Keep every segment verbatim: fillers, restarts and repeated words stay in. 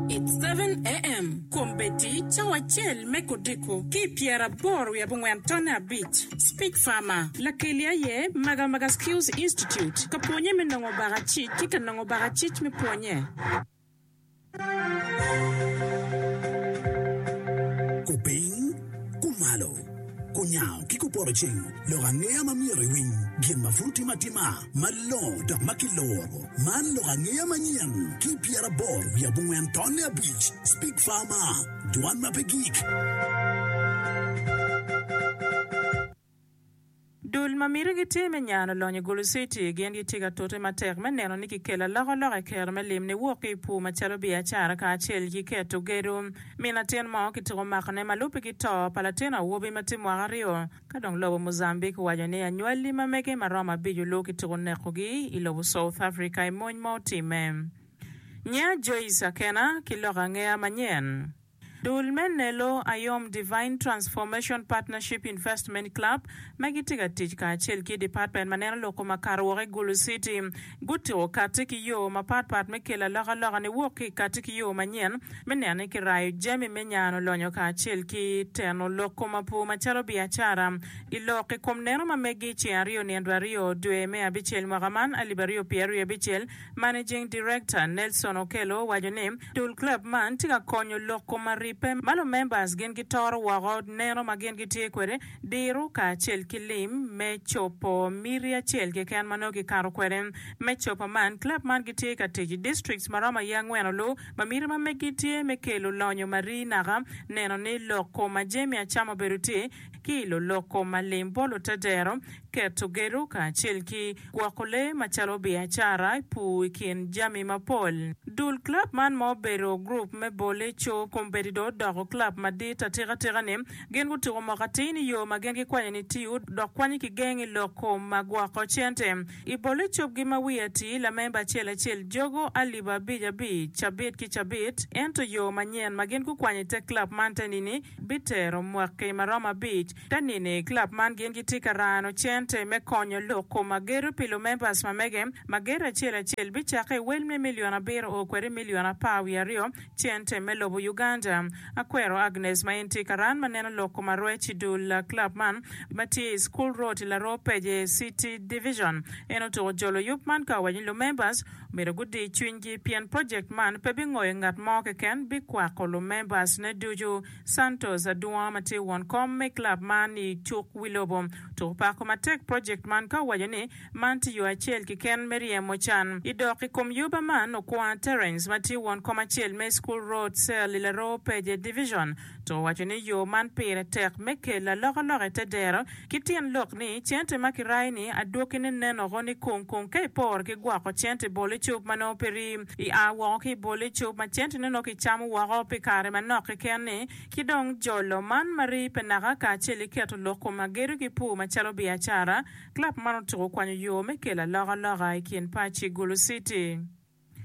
It's seven AM, Kombeddi cawa acel me kodiko ki pyeraboro wiye abongwen tonne abic. Speak Farmer, lakeli aye Magamaga Skills Institute, ka pwonye me nongo bakacic ki ka nongo bakacic me pwonye. Kupiny, kumalo, kunyango ki kupoto ceng, lok angeya ma myero iwiny, gin ma pud timo atima, malongo dok ma kiloro. Man lok angeya manyen ki pyeraboro wiye abongwen tonne abic. Speak Farmer, dwan ma pe gik. Dul ma miti gitye me nyano lonyo i Gulu City gin gitye ka tute matek me neno ni kikelo alokaloka i kero me lim niwok ki i pur macalo biacara kacel ki keto gedo. Min latin mo kitiko makone ma lubbe ki to pa latin awobi ma tye mwaka aryo. Ka dong lobo Mozambique owaco ni anywali ma mege ma romo abic olu kitiko nekogi i lobo South Africa i mony ma otimme. Nya Joyce Akena ki lok angeya manyen. Dul me Nelo Ayom Divine Transformation Partnership Investment Club ma gitye ka tic kacel ki department ma neno lok kom akato woko i Gulu City gutiko kati ki yo mapatpat me kelo alokaloka niwok ki i kati ki yo manyen me neno ni kirayo jami me nyano lonyo kacel ki teno lok kom apur macalo biacara i lok i kom neno ma megi ceng aryo nino aryo dwe me abicel mwaka man alip aryo pyeraryo wiye abicel. Managing Director Nelson Okello owaco ni dul club man tye ka konyo lok kom aribbe ma lumembers gin gitoro woko neno ma gin gitye kwede diro kacel ki lim me cobo miti acel keken ma nongo gikato kwede. Me cobo man, club man gitye ka tic i districts ma romo aye angwen olu ma miti ma meggi tye me kelo lonyo ma rii naka, neno ni lok kom ma jami acama obedo tye ki ilo lok kom ma lim bot lutedero, keto gedo kacel ki gwoko lee macalo biacara, pur i kin jami mapol. Dul club man ma obedo gurup me bole co kombeddi dong odoko club madit atikatika-ni. Gin gutuko moko atir ni yo ma gin gikwanyo ni tiyo dok kwanyo ki geng i lok kom ma gwoko cente. I bole cobgi ma wiye atir, lamemba acel acel jogo alip abic abic cabit ki cabit, ento yo manyen ma gin gukwanyo i te club man te nini bitero mwaki ma romo abic. Te nini, club man gin gitye ka rano cente me konyo lok kom agedo pi lumembers ma mege. Ma gedo acel acel bicakke i wel me milion abiro o kwede milion apar wiye aryo cente me lobo Uganda. Akwero Agnes ma en tye ka ran ma neno lok kom arwec i dul club man ma tye i School Road i Laroo Peje City Division. En otuko jolo yub man ka owaco ni lumembers myero gudi cwinygi pien project man pe bingoyo ngat mo keken bikwako lumembers ne ducu. Santos Adungo ma tye won kom me club man i cuk wi lobo otuko pako matek project man ka owaco ni man tye yo acel keken me ryemo can i dok i kom yuba man. Okwa Terence ma tye won kom acel me School Road Cell i Laroo Peje Division to owaco ni yo man pire tek me kelo alokaloka i te dero ki tyen lok ni cente ma kirayo ni adwokine nenoko ni kung kung ka iporo ki gwoko cente i bol icup ma nongo pe rii i a woko ki i bol icup ma cente ne nongo kicamo woko pi kare manok keken ni ki dong jolo man ma rii pe naka kacel ki keto lok kom agedo ki pur macalo biacara. Club man otuko kwanyo yo me kelo alokaloka i kin paci Gulu City.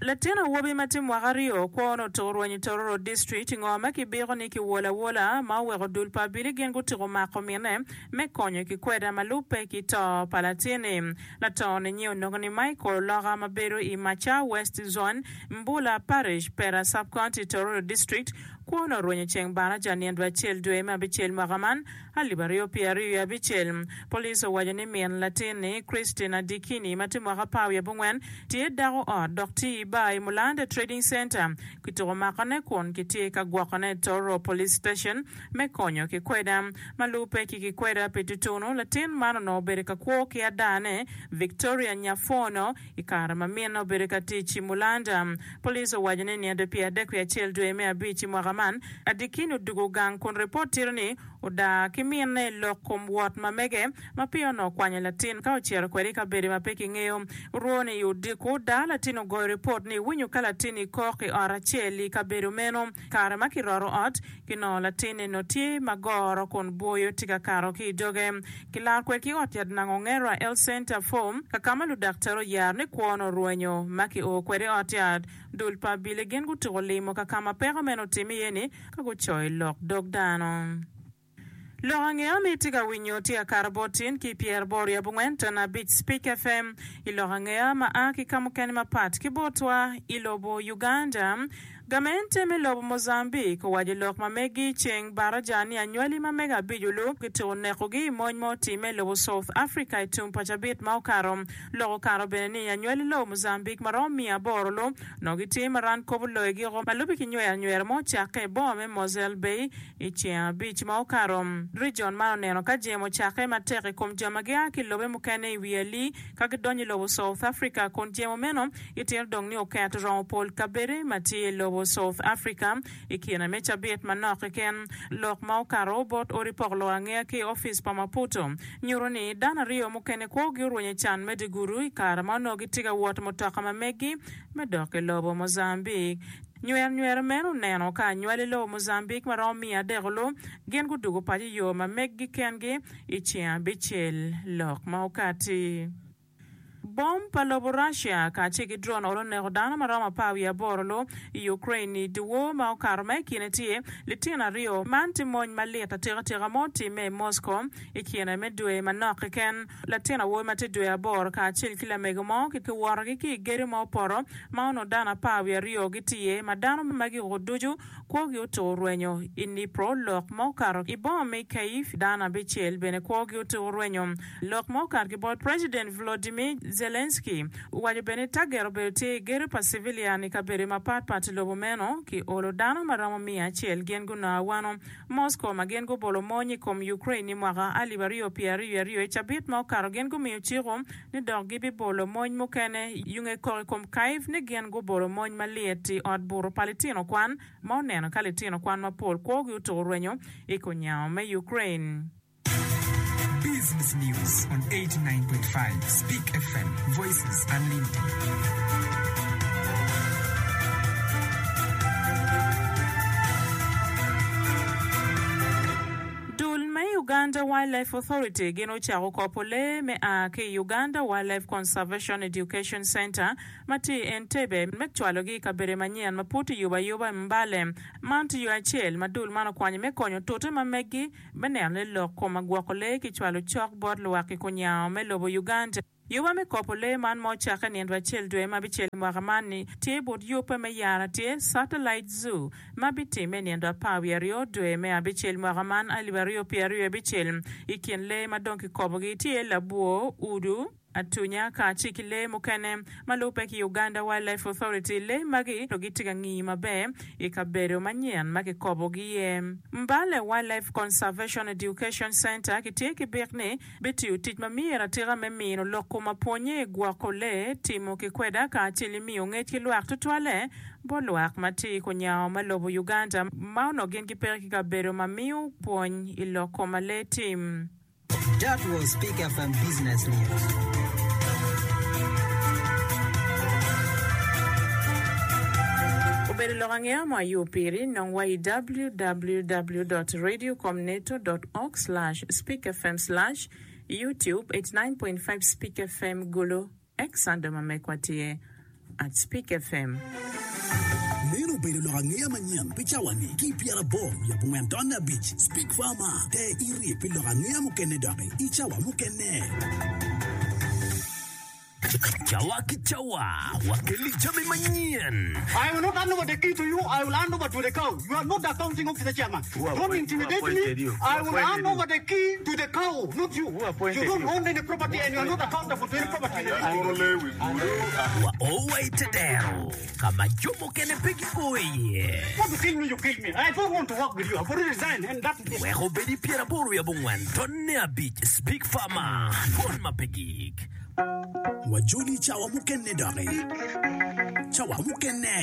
Latin awobi ma tye mwaka aryo kwone otuko rwenyo i Tororo District ngo ma kibiko ni kiwolo awola ma oweko dul pa abili gin gutiko mako mine me konyo ki kweda ma lubbe ki to pa latin-ni. Lato-ni nyi onongo ni Michael Oloka ma bedo i Macha West Zone, Mbula Parish, Pera Sub-County, Tororo District. Kwone orwenyo ceng baraja nino acel dwe me abicel mwaka man alip aryo pyera aryo wiye abicel. Police owaco ni min latin-ni, Christine Adikini ma tye mwaka apar wiye abongwen, tye dako ot dok tye i bar i Mulanda Trading Centre. Kituko makone kun kitye ka gwokone i Tororo Police Station me konyo ki kweda. Ma lubbe ki kikweda pi tutunu, latin man onongo obedo ka kwo ki adane, Victoria Nyafono, I kare ma minne obedo ka tic i Mulanda, police owaco ni nino pye adek wiye acel dwe me abic i mwaka man, Adikini odugo gang kun ripot tito ni odaa ki minne i lok kom wot ma mege ma peya onongo okwanyo latin ka ocito kwede i kabedo ma pe kingeyo. Orwone i odiko, daa latin ogoyo ripot ni winyo ka latin-ni kok i ot acel i kabedo meno. Kare ma kiroto ot, kinongo latin-ni nongo tye ma goro kun bwoyo tye ka kato ki i doge. Kilaro kwede ki ot yat Nango Ngera Health Center Form, ka ka ma ludaktar oyaro ni kwone orwenyo. Ma kio kwede i ot yat, dul pa abili gin gutuko limo ka ka ma peko meno otimme iye-ni ka gucoyo lok dog dano. Lok angeya ma itye ka winyo tye akato bot tin ki pyeraboro wiye abongwen ton abic Speak FM i lok angeya ma a ki ka mukene mapat ki botwa i lobo Uganda. Gamente me lobo Mozambique owaco lok ma megi ceng baraja ni anywali ma mega abic olu kitiko nekogi i mony ma otimme i lobo South Africa i tum pa cabit ma okato. Lok okato bene ni anywali lobo Mozambique ma romo miya aboro lu onongo gitye ma ran kobo loyogi oko ma lubbe ki nywero anywera ma ocakke i boma me Mosel Bay i ceng abic ma okato. Region man oneno ka jemo ocakke matek i kom jo ma gia ki i lobe mukene i wi ali ka gidonyo i lobo South Africa kun jemo meno gitito dong ni oketo romo pol kabede ma tye i lobo South Africa i kine me cabit manok keken. Lok ma okato bot odi pok lok angeya ki i opic pa Maputo nyuto ni dano aryo mukene kwogi orwenyo i can me dye gudo i kare ma onongo gitye ka wot mutoka ma meggi me dok i lobo Mozambique. Nywero nywero meno oneno ka anywali lobo Mozambique ma romo miya adek olu gin gudugo paco i yo ma meggi kengi i ceng abicel. Lok ma okati. Bom pa lobo Russia kacel ki drone olo oneko dano ma romo apar wiye aboro lu i Ukraine i dyewor ma okato ma i kine tye litino aryo. Man tye mony malit atikatika ma otimme i Moscow i kine me dwe manok keken. Latin awobi ma tye dwe aboro kacel ki lamego mo kiwotogi ki i gedo ma opoto ma onongo dano apar wiye aryo gitye iye ma dano magi ducu kwogi otuko rwenyo i Dnipro. Lok ma okato i boma me Kyiv dano abicel bene kwogi otuko rwenyo. Lok ma okato ki bot President Volodymyr Zelensky owaco bene ni taget obedo tye i gedo pa civilian i kabedo mapatpat i lobo meno ki olo dano ma romo miya acel gin gunongo awano. Moscow ma gin gubolo mony i kom Ukraine i mwaka alip aryo pyera aryo aryo i cabit ma okato gin gumiyo ciko ni dok gibibolo mony mukene yunge kok i kom Kyiv ni gin gubolo mony malit i ot buto pa litino kwan ma oneno ka litino kwan mapol kwogi otuko rwenyo i kunyango me Ukraine. Business News on eighty-nine point five Speak F M, Voices Unlimited. Dul me Uganda Wildlife Authority gin ocako kopo lee me a ki i Uganda Wildlife Conservation Education Centre ma tye i Entebbe me cwalogi i kabedo manyen ma pud tiyubo ayuba i Mbale. Man tye yo acel ma dul man okwanyo me konyo tute ma meggi me neno ni lok kom agwoko lee kicwalo cok bot lwak i kunyango me lobo Uganda. Yuba me kopo lee man ma ocakke nino acel dwe ma abicel i mwaka man ni tye but yubbe me yara tye Satellite Zoo ma bitimme nino apar wiye aryo dwe me abicel mwaka man alip aryo pyera aryo abicel. I kin lee ma dong kikobogi tye labwor, udu, atunya kacel ki lee mukene ma lubbe ki Uganda Wildlife Authority. Lee magi gitye ka ngiyo maber i kabedo manyen ma kikobogi iye. Mbale Wildlife Conservation Education Centre kitye ki bik ni bitiyo tic ma myero atika me mino lok kom apwonye i gwoko lee, timo ki kweda kacel i miyo ngec ki lwak tutwalle bot lwak ma tye i kunyango ma lobo Uganda ma onongo gin gipeke ki kabedo ma miyo pwony i lok kom ma lee tim. That was Speak F M Business News. Obedo lok angeya mo ayo piri, nong wa i w w w dot radiocomneto dot org slash speakfm slash youtube eighty-nine point five Speak F M Gulu X ando ma mekwa tye at Speak F M. Meno obedo lok angeya manyen pi cawa-ni ki pyeraboro wiye abongwen tonne abic Speak Farmer te iri pi lok angeya mukene doki i cawa mukene. Cawa ki cawa wakeli jami manyen. I will not hand over the key to you, I will hand over to the cow. You are not the accounting officer chairman. Who Don't appoint-, who intimidate appointed me. you? Who I will appointed hand you? over the key to the cow, not you. Who appointed You don't you? own any property and you are not accountable to any property in the district. Wa owai tedero kama jo mukene pe gio iye. Want to kill me, you kill me. I don't want to work with you. I've already resigned and that is it. Wek obedi pyeraboro wiye abongwen tonne abic Speak Farmer dwon ma pe gik. Wajoli cawa mukene doki. Cawa mukene.